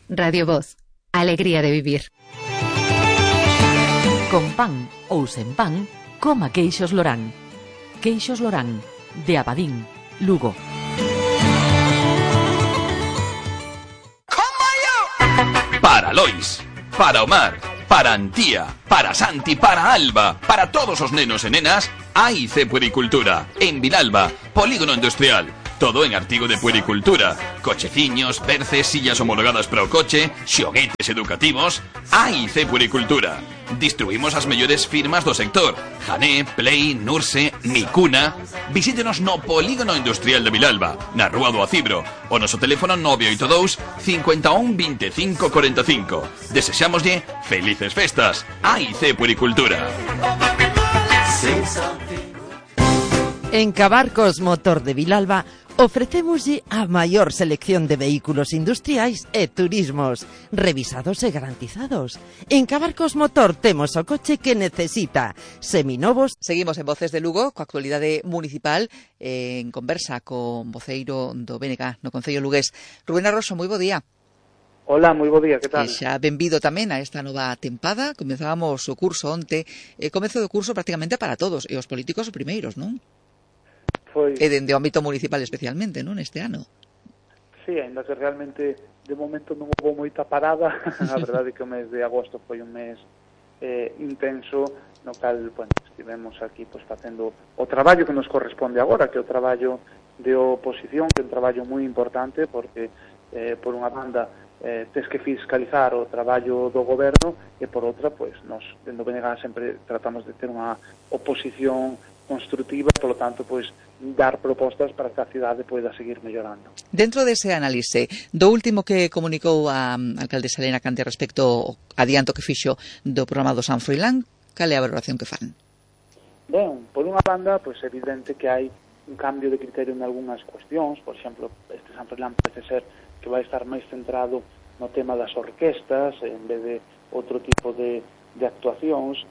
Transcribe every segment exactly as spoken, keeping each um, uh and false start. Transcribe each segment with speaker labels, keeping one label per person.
Speaker 1: Radio Voz, alegría de vivir.
Speaker 2: Con pan ou sen pan, coma queixos Lorán. Queixos Lorán, de Abadín, Lugo.
Speaker 3: Para Lois, para Omar, para Antía, para Santi, para Alba, para todos os nenos e nenas, A I C Puericultura, en Vilalba, Polígono Industrial. Todo en artigo de puericultura. Cocheciños, perces, sillas homologadas para o coche, xoguetes educativos. A I C Puericultura. Distribuimos as mellores firmas do sector: Jané, Play, Nurse, Micuna. Visítenos no Polígono Industrial de Vilalba, na Rúa do Acibro, o noso teléfono nove oito dous, cinco un, veinticinco, cuarenta y cinco. Desexámoslle felices festas. A I C Puericultura.
Speaker 4: En Cabarcos Motor de Vilalba ofrecémoslle a maior selección de vehículos industriais e turismos, revisados e garantizados. En Cabarcos Motor temos o coche que necesita, seminovos.
Speaker 5: Seguimos en Voces de Lugo, coa actualidade municipal, eh, en conversa con voceiro do B N G no Concello lugués. Rubén Arroso, moi bo día.
Speaker 6: Hola, moi bo día, que tal?
Speaker 5: E xa benvido tamén a esta nova tempada. Comezábamos o curso onte, e comezo do curso prácticamente para todos, e os políticos os primeiros, non?
Speaker 6: Foi...
Speaker 5: E dende o ámbito municipal especialmente, non, este ano?
Speaker 6: Sí, ainda que realmente de momento non houve moita parada. A verdade é que o mes de agosto foi un mes eh, intenso, no cal, bueno, estivemos aquí pues, facendo o traballo que nos corresponde agora, que é o traballo de oposición, que é un traballo moi importante, porque eh, por unha banda eh, tes que fiscalizar o traballo do goberno, e por outra, pues, nos, dentro do B N G sempre tratamos de ter unha oposición construtiva, polo tanto, pois, dar propostas para que a cidade poida seguir mellorando.
Speaker 5: Dentro dese análise, do último que comunicou a alcaldesa Elena Cante respecto ao adianto que fixo do programa do San Froilán, cal é a valoración que fan?
Speaker 6: Ben, por unha banda, pois, é evidente que hai un cambio de criterio en algunhas cuestións. Por exemplo, este San Froilán parece ser que vai estar máis centrado no tema das orquestas, en vez de outro tipo de, de actuacións.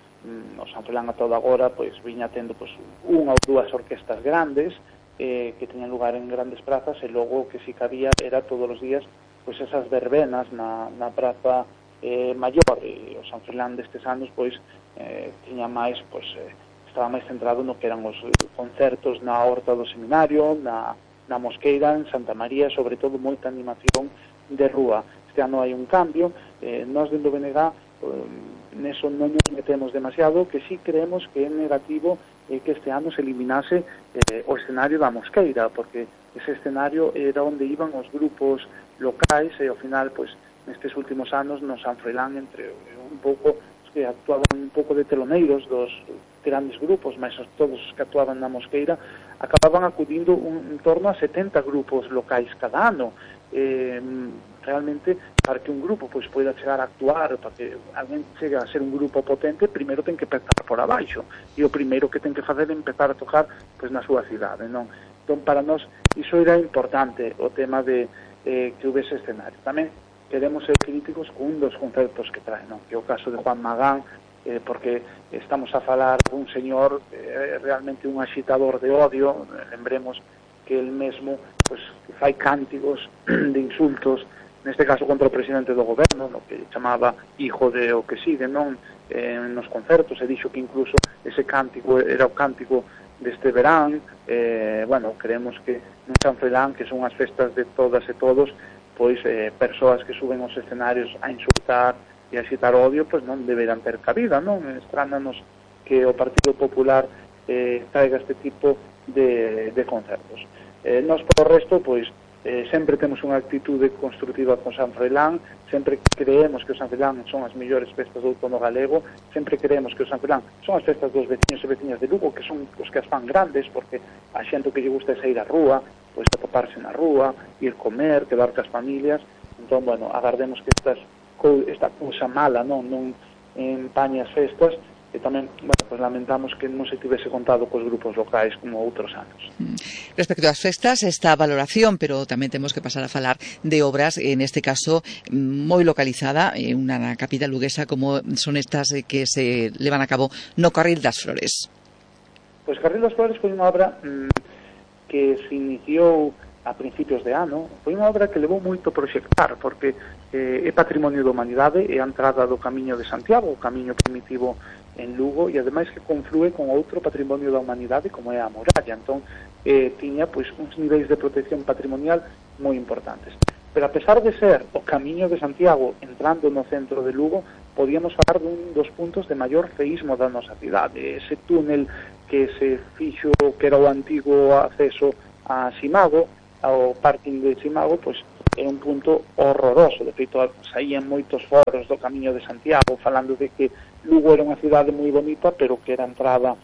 Speaker 6: O San Froilán a toda agora pois viña tendo pois unha ou dúas orquestas grandes eh, que teñan lugar en grandes prazas, e logo que si cabía era todos os días pois esas verbenas na, na praza eh, maior. E o San Froilán destes anos pois eh, tiña máis pois eh, estaba máis centrado no que eran os concertos na Horta do Seminario, na, na Mosqueira, en Santa María, sobre todo moita animación de rúa. Este ano hai un cambio, eh, nós dentro do B N G eh, neso non nos metemos demasiado, que sí creemos que é negativo eh, que este ano se eliminase eh, o escenario da Mosqueira, porque ese escenario era onde iban os grupos locais, e ao final, pois, nestes últimos anos no San Froilán, entre un pouco, os que actuaban un pouco de teloneiros dos grandes grupos, mas todos os que actuaban na Mosqueira, acababan acudindo un, en torno a setenta grupos locais cada ano. Eh, realmente, para que un grupo pois poida chegar a actuar, para que alguén chegue a ser un grupo potente, primeiro ten que empezar por abaixo, e o primeiro que ten que fazer é empezar a tocar pois na súa cidade, non? Entón, para nós, iso era importante, o tema de eh, que houvese escenario. Tamén queremos ser críticos con un dos concertos que trae, non? Que é o caso de Juan Magán, eh, porque estamos a falar dun señor eh, realmente un axitador de odio. Lembremos que el mesmo pois, fai cánticos de insultos, neste caso contra o presidente do goberno, no que chamaba hijo de o que sigue, non? Eh, nos concertos, e dixo que incluso ese cántico era o cántico deste verán. Eh, bueno, creemos que non San Froilán, que son as festas de todas e todos, pois eh, persoas que suben aos escenarios a insultar e a excitar odio, pois non deberán ter cabida, non? Estránanos que o Partido Popular eh, traiga este tipo de, de concertos. Eh, nós, por o resto, pois, eh, sempre temos unha actitude construtiva con San Froilán, sempre creemos que o San Froilán son as mellores festas do outono galego, sempre creemos que o San Froilán son as festas dos veciños e veciñas de Lugo, que son os que as fan grandes, porque a xente que lle gusta é sair á rúa, pois atoparse na rúa, ir comer, quedar cas familias. Entón, bueno, agardemos que estas, esta cousa mala non, non empañe as festas, e tamén, bueno, pues lamentamos que non se tivese contado cos grupos locais como outros anos.
Speaker 5: Respecto ás festas, esta valoración, pero tamén temos que pasar a falar de obras, en este caso moi localizada en unha capital luguesa como son estas que se levan a cabo no Carril das Flores.
Speaker 6: Pois Carril das Flores foi unha obra mmm, que se iniciou a principios de ano, foi unha obra que levou moito a proxectar, porque eh, é patrimonio da humanidade, é a entrada do Camiño de Santiago, o camiño primitivo en Lugo, e ademais que conflúe con outro patrimonio da humanidade como é a muralla. Entón, eh, tiña pois uns niveis de protección patrimonial moi importantes. Pero a pesar de ser o Camiño de Santiago entrando no centro de Lugo, podíamos falar dun dos puntos de maior feísmo da nosa cidade. Ese túnel que se fixo, que era o antigo acceso a Simago, ao parking de Simago, pois é un punto horroroso. De feito, saían moitos foros do Camiño de Santiago falando de que Lugo era unha cidade moi bonita, pero que era a entrada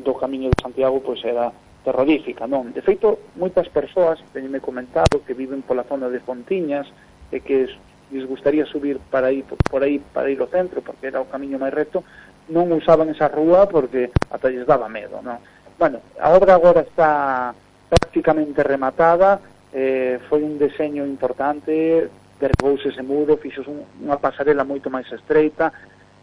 Speaker 6: do Camiño de Santiago pois era terrorífica, non? De feito, moitas persoas, teñeme comentado, que viven pola zona de Fontiñas e que lles gustaría subir para aí, por aí para ir ao centro, porque era o camiño máis recto, non usaban esa rúa porque ata lles daba medo, non? Bueno, a obra agora está prácticamente rematada, eh, foi un deseño importante, derribouse ese muro, fixos un, unha pasarela moito máis estreita,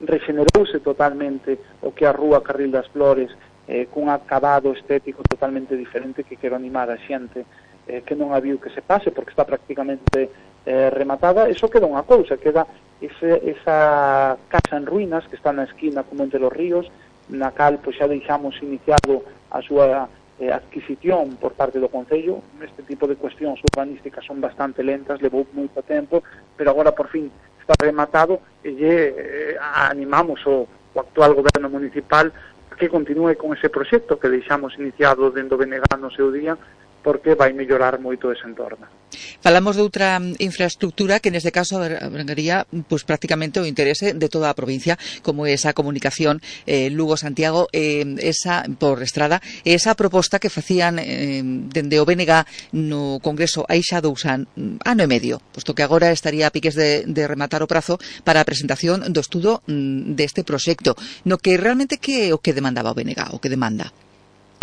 Speaker 6: regenerouse totalmente o que a rúa Carril das Flores, eh, cun acabado estético totalmente diferente que quero animar a xente eh, que non a viu que se pase, porque está prácticamente eh, rematada. Eso queda unha cousa, queda ese, esa casa en ruínas que está na esquina con Monte los Ríos, na cal pois, xa deixamos iniciado a súa eh, adquisición por parte do Concello. Este tipo de cuestións urbanísticas son bastante lentas, levou moito tempo, pero agora por fin está rematado e eh, animamos o, o actual goberno municipal que continúe con ese proxecto que deixamos iniciado dentro do B N G no seu día, porque vai mellorar moito ese entorno.
Speaker 5: Falamos de outra infraestructura que neste caso abrangaría pues, prácticamente o interese de toda a provincia, como esa comunicación eh, Lugo-Santiago, eh, esa por estrada, esa proposta que facían eh, dende o B N G no Congreso hai xa dous an, ano e medio, posto que agora estaría a piques de, de rematar o prazo para a presentación do estudo mm, deste proxecto, no que realmente que o que demandaba o B N G, o que demanda?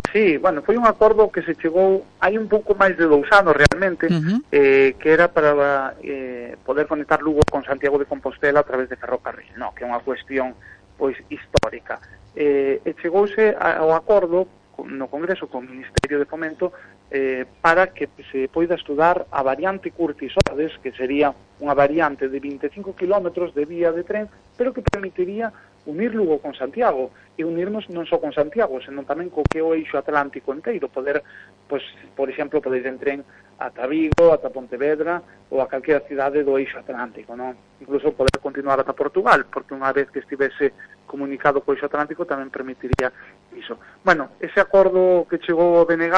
Speaker 6: Sí, bueno, foi un acordo que se chegou hai un pouco máis de dous anos realmente, uh-huh. eh, que era para eh, poder conectar Lugo con Santiago de Compostela a través de ferrocarril, no, que é unha cuestión pois histórica. Eh, e chegouse ao acordo no Congreso con o Ministerio de Fomento eh, para que se poida estudar a variante Curtis-Ordes, que sería unha variante de vinte e cinco kilómetros de vía de tren, pero que permitiría unir Lugo con Santiago, e unirnos non só con Santiago, senón tamén co que é o eixo atlántico inteiro, poder, pois, por exemplo, poder ir en tren ata Vigo, ata Pontevedra, ou a calquera cidade do eixo atlántico, non? Incluso poder continuar ata Portugal, porque unha vez que estivese comunicado co eixo atlántico tamén permitiría iso. Bueno, ese acordo que chegou ao B N G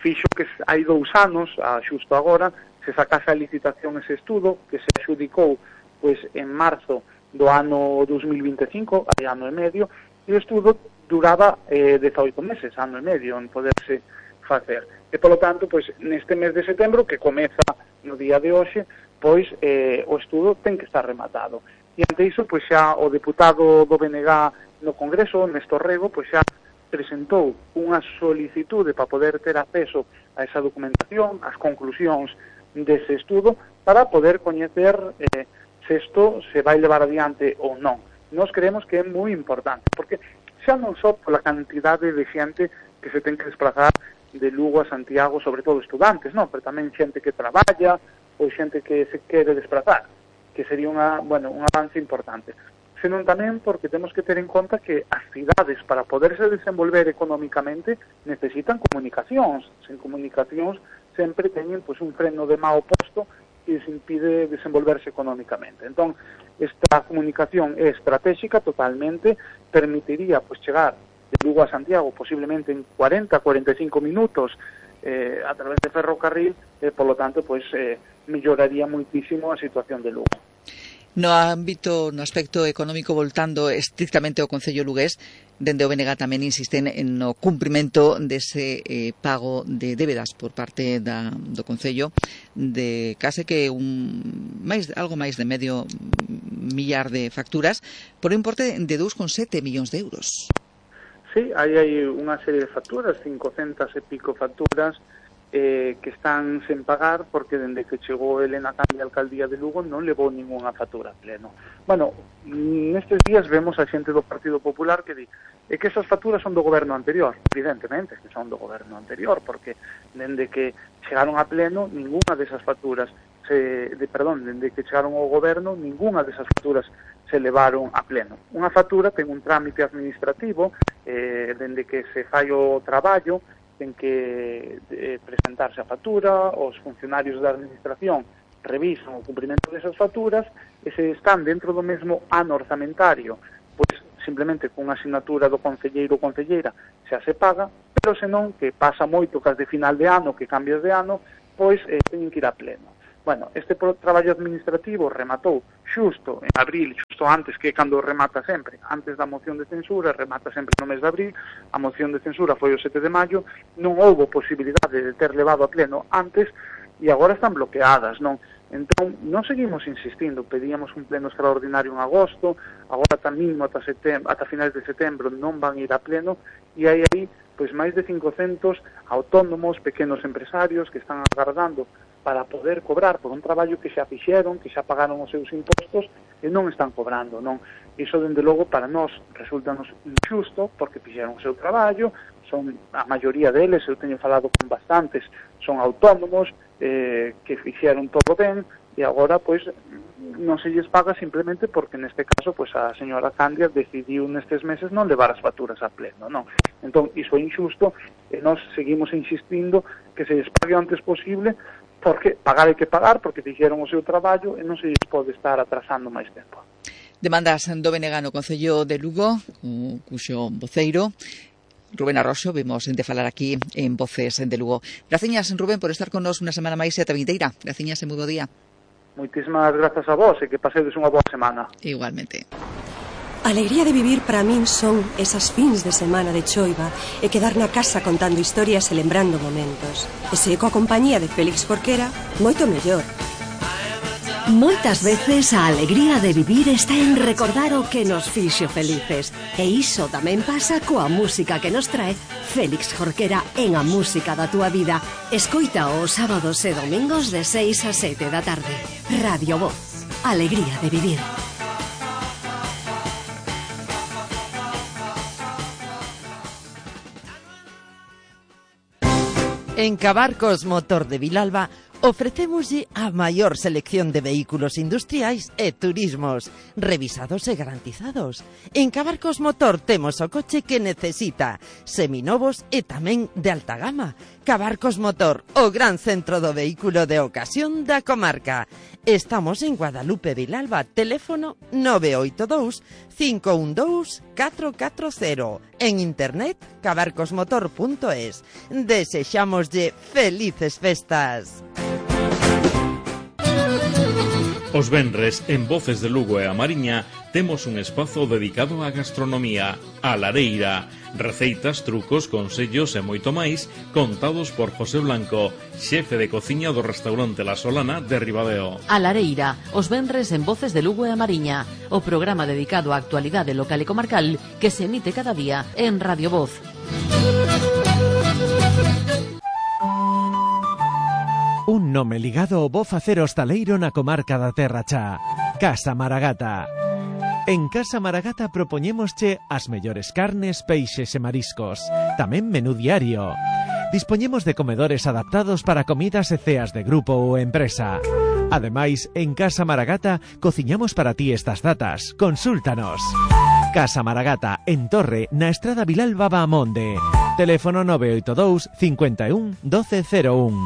Speaker 6: fixo que hai dous anos, a xusto agora, se sacase a licitación ese estudo, que se adxudicou pois, en marzo do ano dos mil vinte e cinco, hai ano e medio, e o estudo duraba eh, dezaoito meses, ano e medio, en poderse facer. E, polo tanto, pois, neste mes de setembro, que comeza no día de hoxe, pois, eh, o estudo ten que estar rematado. E, ante iso, pois, xa o deputado do B N G no Congreso, Néstor Rego, pois, xa presentou unha solicitude para poder ter acceso a esa documentación, as conclusións dese estudo, para poder coñecer eh, se isto se vai levar adiante ou non. Nós creemos que é moi importante, porque xa non só pola cantidade de xente que se ten que desplazar de Lugo a Santiago, sobre todo estudantes, non? Pero tamén xente que traballa ou xente que se quere desplazar, que sería unha, bueno, un avance importante. Senón tamén porque temos que ter en conta que as cidades, para poderse desenvolver económicamente, necesitan comunicacións. Sen comunicacións sempre teñen pois, un freno de mao posto que se impide desenvolverse económicamente. Entón, esta comunicación é estratégica totalmente, permitiría pues, chegar de Lugo a Santiago posiblemente en cuarenta a cuarenta e cinco minutos eh, a través de ferrocarril, e, polo tanto, pues, eh, melloraría muitísimo a situación de Lugo.
Speaker 5: No ámbito, no aspecto económico, voltando estrictamente ao Concello lugués, dende o B N G tamén insisten no cumprimento dese eh, pago de débedas por parte da, do Concello de case que un máis algo máis de medio millar de facturas por un importe de dous coma sete millóns de euros.
Speaker 6: Sí, aí hai unha serie de facturas, cincocentas e pico facturas, eh, que están sen pagar porque dende que chegou Elena Candia a alcaldía de Lugo non levou ninguna factura a pleno. Bueno, nestes días vemos a xente do Partido Popular que di é que esas facturas son do goberno anterior. Evidentemente que son do goberno anterior, porque dende que chegaron a pleno ninguna desas facturas se, de, perdón, dende que chegaron ao goberno ninguna desas facturas se levaron a pleno. Unha factura ten un trámite administrativo, eh, dende que se fai o traballo ten que eh, presentarse a factura, os funcionarios da administración revisan o cumprimento desas facturas e se están dentro do mesmo ano orzamentario, pois simplemente cunha asignatura do concelleiro ou concelleira xa se paga, pero senón que pasa moito cas de final de ano, que cambias de ano, pois eh, teñen que ir a pleno. Bueno, este traballo administrativo rematou xusto en abril, xusto antes, que cando remata sempre, antes da moción de censura, remata sempre no mes de abril, a moción de censura foi o sete de maio, non houbo posibilidade de ter levado a pleno antes e agora están bloqueadas, non? Entón, non seguimos insistindo, pedíamos un pleno extraordinario en agosto, agora tamén ata, setem- ata finais de setembro non van ir a pleno e hai aí pois máis de cincocentos autónomos, pequenos empresarios que están agardando para poder cobrar por un traballo que xa fixeron, que xa pagaron os seus impostos e non están cobrando, non? Iso, dende logo, para nós resultanos injusto porque fixeron o seu traballo, son a maioría deles, eu teño falado con bastantes, son autónomos eh, que fixeron todo ben e agora, pois, non se lles paga simplemente porque neste caso, pois, a señora Candia decidiu nestes meses non levar as facturas a pleno, non? Entón, iso é injusto e nós seguimos insistindo que se lles pague o antes posible porque pagar hai que pagar, porque fixeron o seu traballo e non se lles pode estar atrasando máis tempo.
Speaker 5: Demandas do B N G no Concello de Lugo, cuxo voceiro, Rubén Arroxo, vemos de falar aquí en Voces de Lugo. Graciñas, Rubén, por estar con nos unha semana máis e ata vindeira. Graciñas e moi bo día.
Speaker 6: Moitísimas grazas a vos e que pasedes unha boa semana.
Speaker 5: Igualmente.
Speaker 7: A alegría de vivir para min son esas fins de semana de choiva e quedar na casa contando historias e lembrando momentos. E se coa compañía de Félix Jorquera, moito mellor.
Speaker 8: Moitas veces a alegría de vivir está en recordar o que nos fixo felices. E iso tamén pasa coa música que nos trae Félix Jorquera en A Música da Túa Vida. Escoita os sábados e domingos de seis a sete da tarde. Radio Voz. Alegría de vivir.
Speaker 4: En Cabarcos Motor de Vilalba ofrecémoslle a maior selección de vehículos industriais e turismos, revisados e garantizados. En Cabarcos Motor temos o coche que necesita, seminovos e tamén de alta gama. Cabarcos Motor, o gran centro do vehículo de ocasión da comarca. Estamos en Guadalupe, Vilalba, teléfono nove oito dous, cinco un dous, catro catro cero. En internet, cabarcosmotor punto es. Desexámoslle felices festas.
Speaker 9: Os venres, en Voces de Lugo e a Mariña, temos un espazo dedicado á gastronomía, a lareira, receitas, trucos, consellos e moito máis, contados por José Blanco, xefe de cociña do restaurante La Solana de Ribadeo.
Speaker 2: A lareira, os venres en Voces de Lugo e a Mariña, o programa dedicado á actualidade local e comarcal que se emite cada día en Radio Voz.
Speaker 10: Un nome ligado ao bo facer hostaleiro na comarca da Terra Chá. Casa Maragata. En Casa Maragata propoñémosche as mellores carnes, peixes e mariscos. Tamén menú diario. Dispoñemos de comedores adaptados para comidas e ceas de grupo ou empresa. Ademais, en Casa Maragata cociñamos para ti estas datas. Consúltanos. Casa Maragata, en Torre, na Estrada Vilalba Baamonde. Teléfono nove oito dous, cinco un, doce cero un.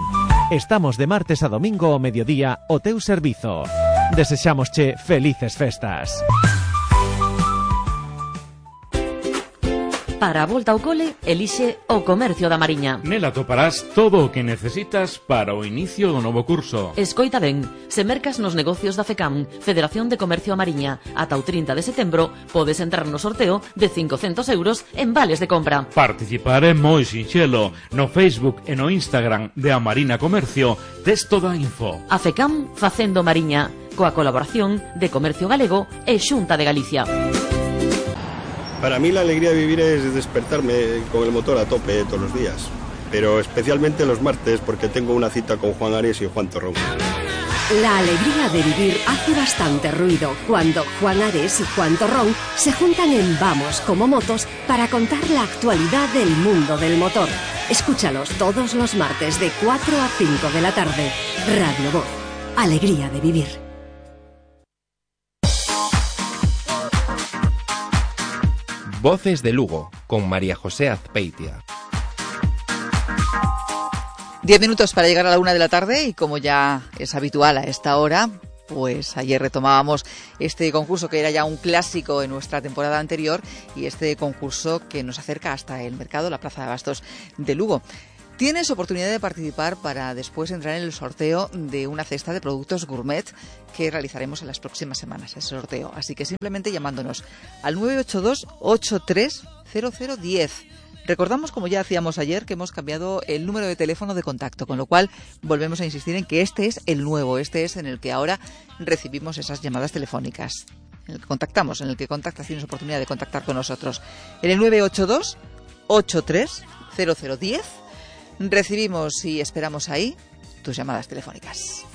Speaker 10: Estamos de martes a domingo ao mediodía o teu servizo. Desexámosche felices festas.
Speaker 2: Para a volta ao cole, elixe o Comercio da Mariña.
Speaker 9: Nela toparás todo o que necesitas para o inicio do novo curso.
Speaker 2: Escoita ben, se mercas nos negocios da FECAM, Federación de Comercio a Mariña, ata o trinta de setembro, podes entrar no sorteo de cincocentos euros en vales de compra.
Speaker 9: Participar é moi sinxelo. No Facebook e no Instagram de A Marina Comercio tes toda a info.
Speaker 2: A FECAM facendo Mariña, coa colaboración de Comercio Galego e Xunta de Galicia.
Speaker 11: Para mí la alegría de vivir es despertarme con el motor a tope todos los días. pero especialmente los martes porque tengo una cita con Juan Ares y Juan Torrón.
Speaker 8: La alegría de vivir hace bastante ruido cuando Juan Ares y Juan Torrón se juntan en Vamos como Motos para contar la actualidad del mundo del motor. Escúchalos todos los martes de cuatro a cinco de la tarde. Radio Voz. Alegría de vivir.
Speaker 12: Voces de Lugo, con María José Azpeitia.
Speaker 5: Diez minutos para llegar a la una de la tarde y como ya es habitual a esta hora, pues ayer retomábamos este concurso que era ya un clásico en nuestra temporada anterior y este concurso que nos acerca hasta el mercado, la Plaza de Abastos de Lugo. Tienes oportunidad de participar para después entrar en el sorteo de una cesta de productos gourmet que realizaremos en las próximas semanas, ese sorteo. Así que simplemente llamándonos al nueve ocho dos, ocho tres cero cero uno cero. Recordamos, como ya hacíamos ayer, que hemos cambiado el número de teléfono de contacto, con lo cual volvemos a insistir en que este es el nuevo, este es en el que ahora recibimos esas llamadas telefónicas, en el que contactamos, en el que contactas, tienes oportunidad de contactar con nosotros. En el nueve ocho dos, ocho tres cero cero uno cero recibimos y esperamos ahí tus llamadas telefónicas.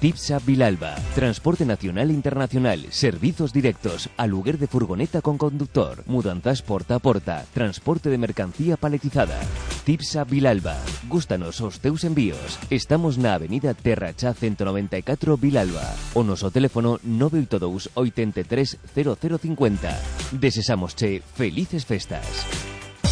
Speaker 13: Tipsa Vilalba, transporte nacional e internacional, servizos directos, aluguer de furgoneta con conductor, mudanzas porta a porta, transporte de mercancía paletizada. Tipsa Vilalba, gústanos os teus envíos. Estamos na avenida Terrachá ciento noventa y cuatro Vilalba, o noso teléfono nueve ocho dos, ocho tres cero cero cinco cero. Desesámosche felices festas.